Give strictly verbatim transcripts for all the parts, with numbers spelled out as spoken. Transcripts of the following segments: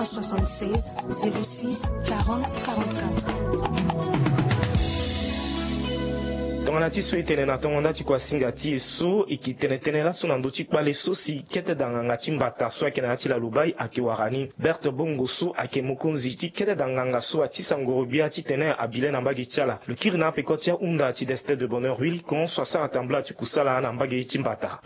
soixante-seize, zéro six, quarante, quarante-quatre. Tongana ti so e tene na tongo nda ti kuasinga ti e so e ke tene tënë laso na ndö ti kpale so si kete da nganga ti mbata so ayeke na ya ti lalubai ayeke wara ni. Berthe Bongo so ayeke mokonzi ti kete da nganga so atisa ngorogbia titene abi le na mbage ti ala. Lo kiri na apeko ti ahunda ti Destin de Bonheur Wilcon so asara tambula ti kusala na mbage ti mbata.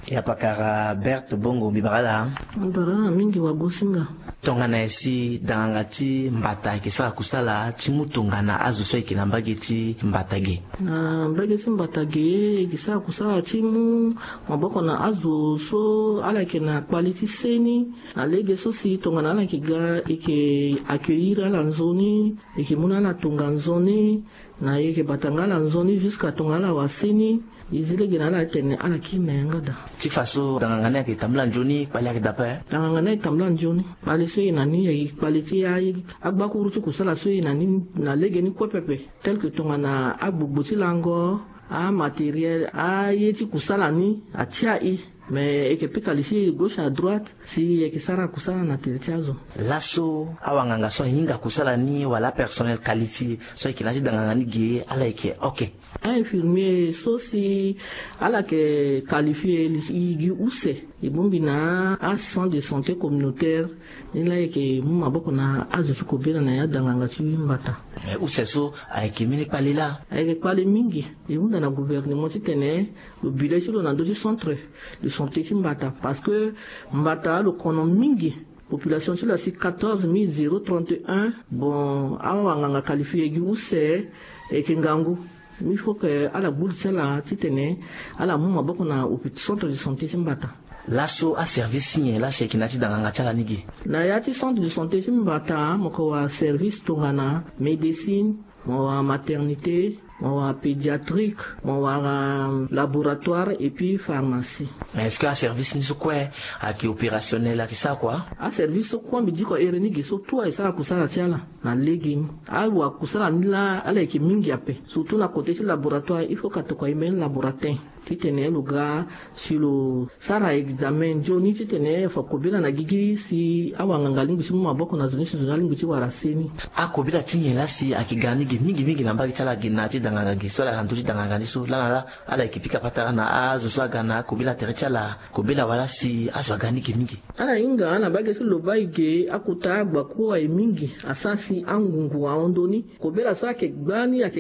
Ya pakara Berthe Bongo, mbi bara ala. Mbi bara ala mingi wagosinga. Tongana nyen si da nganga ti mbata ayeke sara kusala ti mu tongana azo so ayeke na mbage ti mbata ge? Na mbage ti mbata ge, e ke sara kusala ti mu maboko na azo so ala yeke na kpale ti se ni. Na lege so si tongana ala yeke ga, e ke accueillir ala nzoni, e ke mu na ala tonga nzoni. Na e yeke bata nga ala nzoni jusqu'à tongana ala wara se ni. E zi lege na ala atene ala kiri na yanga daa. Ti fa so da nganga ni ayeke tambula nzoni, kpale ayeke daa ape? Da nganga ni ayeke tambula nzoni. Kpale so e na ni ayeke kpale ti a, agbakuru ti kusala so e na ni na lege ni kue pepe. Tel que tongana agbogbo ti lango, amatériel, aye ti kusala ni atia e. Mais e yeke pika li ti e gauche à droite si e yeke sara kusala na tere ti azo. Laso awanganga so ahinga kusala ni wala apersonnel qualifié so ayeke na ya ti da nganga ni ge, ala yeke ok? Ainfirmier so si ala yeke qualifié, li e gi use, e bongbi na acentre de santé communautaire. Ni laa e yeke mu maboko na azo ti kobela na ya da nganga ti mbata. Mais use so ayeke mbeni kpale laa? Ayeke kpale mingi. E hunda na gouvernement titene lo bi le ti lo na ndö ti centre de santé ti mbata, parce que mbata alokono mingi. Population ti lo asi quatorze mille zéro trente et un. Bon, awanganga qualifié gi use, e yeke ngangu. Il faut que ala gbu li ti ala titene ala mu maboko na hôpi-, centre de santé ti mbata. Laso aservice ti nyen laa si ayeke na ya ti da nganga ti ala ni ge? Na ya ti centre de santé ti mbata, mo yeke wara service tongana médecine, mo wara maternité, mo wara pédiatrique, mo wara laboratoire et puis pharmacie. Mais est-ce que aservice ni so kue ayeke opérationnel, ayeke sara kua? Aservice so kue mbi diko here ni ge so tout ayeke sara kusala ti ala na lege ni. Awakusala ni laa ala yeke mingi ape, surtout na côté ti laboratoire, il faut ka tokua e mbeni laboratin titene lo ga si lo sara examen nzoni titene fa kobela na gigi si awanganga alingbi ti mu maboko na zo ni si zo ni alingbi ti wara se ni. Akobela ti nyen laa si ayeke ga ni ge mingi mingi na mbage ti ala ge na ya ti da nganga ge so ala na ndö ti da nganga ni so laa na laa ala yeke pika patara na azo so aga na akobela tere ti ala kobela wala si azo aga ni ge mingi? Ala hinga na mbage ti lobai ge, akota agbakuru aye mingi, asara si angungu ahon ndoni. Kobela so ayeke gba ni ayeke